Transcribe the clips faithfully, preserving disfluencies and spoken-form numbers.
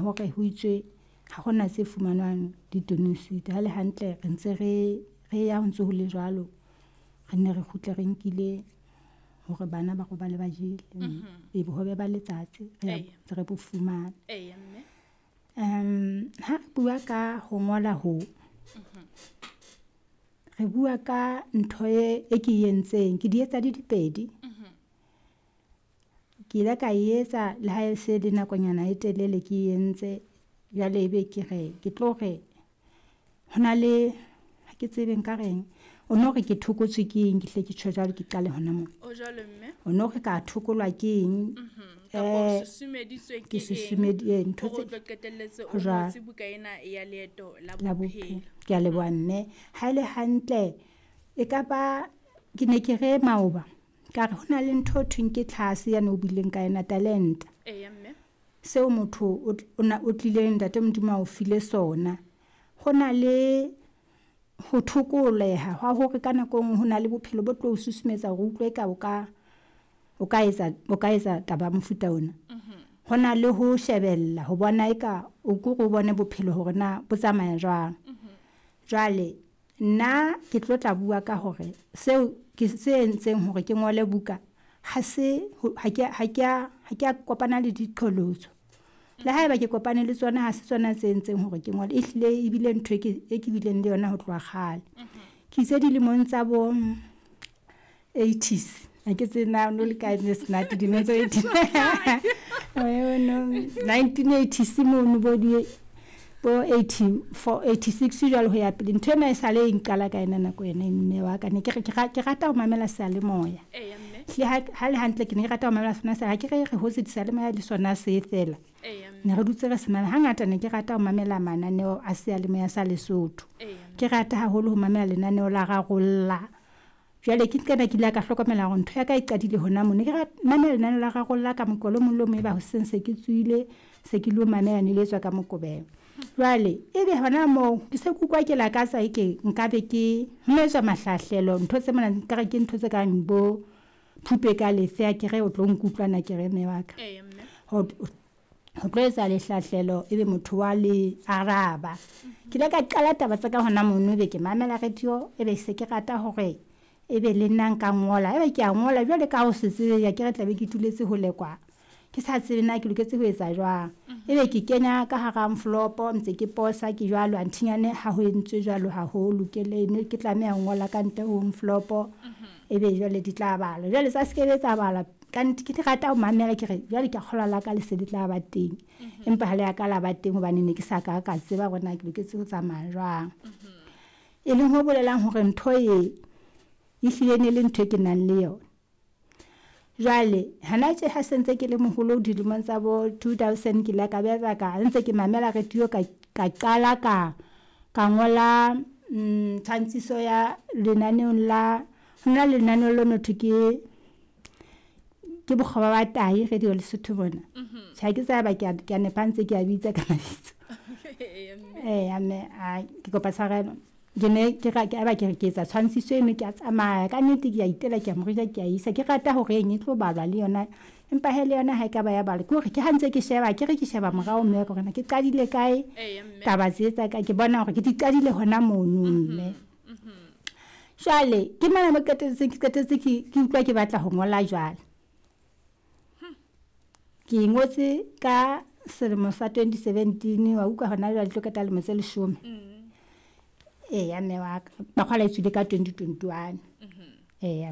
hore ho itswe ha hona se fumanwang ditoneng ha le hantle re ntse re re ya ho ntso ho le jwalo. Re nne re kgutle re nkile hore bana ba robale ba jele. E bohobe ba letsatsi re ntse re bo fumana. Eya mme. Um ha re bua ka ho ngola ho, re bua ka ntho e e ke entseng, ke di etsa di di pedi. Ke ile ka e etsa le ha e se le nakonyana e telele ke entse. Jwale ebe ke re ke tlo re ho na le ha ke tsebe nka reng. O no re ke thokotswe ke eng, ke hle ke tjho jwalo, ke qale hona mona. O jwalo mme. O no re ka thokolwa ke eng? Kapa o susumeditswe Ke ke eng susumedi ntho hore o tse tlo qetelletse o ho jwalo. ngotse buka ena ya leeto la La bophelo. bophelo. Ke a leboha mme. Ha ele hantle e ka ba ke ne ke re maoba ka re ho na le ntho e thweng ke tlhase yane o buileng ka yona talente. Eya mme. Seo motho o o na o tlileng ntate Modimo a o file sona. Ho na le ho thokoleha hwa hore ka nako e nngwe ho na le bophelo bo tlo o susumetsa hore o utlwe eka o ka o ka etsa o ka etsa taba ya mofuta ona. Ho na le ho shebella ho bona eka o ko re o bone bophelo hore na bo tsamaya jwang. Jwale nna ke tlo tla bua ka hore seo ke se entseng hore ke ngole buka ha se ha ke ha ke a ha ke a kopana le diqholotso. Le haeba ke kopane le tsona ha se tsona tse entseng hore ke ngole, ehlile ebile ntho e ke e ke bileng le yona ho tloha kgale. Ke itse dilemong tsa bo eighties, ha ke tsebe na o no le kae Snati dilemong tsa eighties. Nineteen eighties mono bo di bo eighty-four, eighty-six jwalo ho ya pele. Ntho ena e sale e nqala ka yona nako ena mme wa ka. Ne ke re ke ke rata ho mamela seyalemoya. Eya mme. Hlile ha ha le hantle ke ne ke rata ho mamela sona se ha ke re re hotse seyalemoya le sona se fela. Eya mme. Ne re dutse re se mamela. Hangata ne ke rata ho mamela mananeo a seyalemoya sa Lesotho. Eya mme. Ke rata haholo ho mamela lenaneo la Rarolla. Jwale ke nqena ke ile ka hlokomela hore ntho ya ka e qadile hona moo. Ne ke mamela lenaneo la Rarolla ka Moqebelo o mong le o mong eba hoseng se ke tsohile, se ke lo mamela ne le etswa ka Moqebelo. Jwale ebe hona moo ke se ke utlwa ke lakatsa eke nkabe ke ho no etswa mahlahlelo ntho tse mona nkare ke ntho tse kang bo phupe ka lefe a ke re o tlo nkutlwa na ke re mme wa ka. Eya mme. Ho ho tlo etsa lehlahlelo ebe motho wa le araba. Ke ile ka qala taba tsa ka hona mono ebe ke mamela radio ebe se ke rata hore ebe le nna nka ngola. Ebe ke a ngola jwale ka ho se tsebe ya ke re tla be ke tuletse hole kwa. Ke sa tsebe na ke loketse ho etsa jwang. Ebe ke kenya ka hara envelope ntse ke posa ke jwalo anthinyane ha ho entswe jwalo ha ho lokele ne ke tlameha ho ngola ka ntle ho envelope. Ebe jwale di tla balwa. Jwale tsa se tsa balwa ka nnete ke rata ho mamela ke re jwale ke a kgolwa la ka le se le tla ba teng. Empa ha le a ka la ba teng hobane ne ke sa ka ka tseba hore na ke loketse ho tsamaya jwang. E leng ho bolelang hore ntho e ehlile ne le ntho e ke nang le yona. Jwale hana tje ha se ntse ke le moholo dilemong tsa bo two thousand ke ile ka beha ka ntse ke mamela radio ka ka qala ka ka ngola mm tshwantshiso ya lenaneong la ho na le lenaneo le no thwe ke ke bokgoba ba tahi radio Lesotho mona. Tjhe ha ke tseba ke a ke a nepa ntse ke a bitsa ka mabitso. Eya mme. Eya mme a ke kopa tshwarelo. Ke ne ke ra ke eba ke re ke etsa tshwantshiso eno ke a tsamaya ka nnete ke a itela ke a morija ke a isa ke rata hore eng e tlo balwa le yona empa he le yona ha e ka ba ya balwa ke hore ke ha ntse ke sheba ke re ke sheba morao mme hore na ke qadile kae Eya mme. taba tse tsa ka ke bona hore ke di qadile hona mono mme. Jwale ke mona mo qetelletse ke qetelletse ke ke utlwa ke batla ho ngola jwale. Ke ngotse ka selemo sa twenty seventeen wa utlwa hona jwale tlo qeta lemo tse leshome. Eya mme wa ka. Makgola e tswile ka twenty twenty-one. Eya.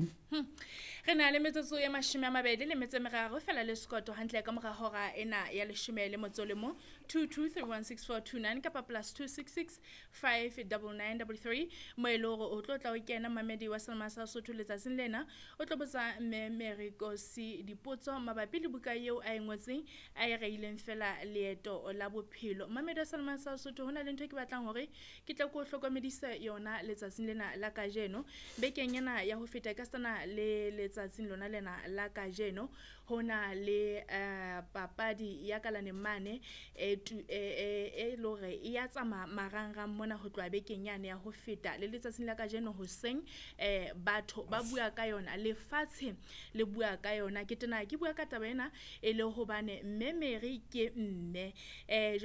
Re na le metsotso e mashome a mabedi le metso e meraro fela le sekoto hantle ka mora hora ena ya leshome le motso le mong, two two three one six four two nine kapa plus two six six five double nine double three mo e le hore o tlo tla o kena mamedi wa Selma sa Sotho letsatsing lena o tlo botsa mme Mary Nkosi dipotso mabapi le buka eo a e ngotseng a e reileng fela leeto la bophelo. Mamedi wa Selma sa Sotho hona le ntho e ke batlang hore ke tle ke o hlokomedise yona letsatsing lena la kajeno. Bekeng ena ya ho feta ka sena le letsatsing lona lena la kajeno ho na le eh papadi ya kalaneng mane e tu e e e le hore e ya tsamaya marangrang mona ho tloha bekeng yane ya ho feta le letsatsing la kajeno hoseng eh batho ba bua ka yona lefatshe le bua ka yona ke tena ke bua ka taba ena e le hobane mme Mary ke mme eh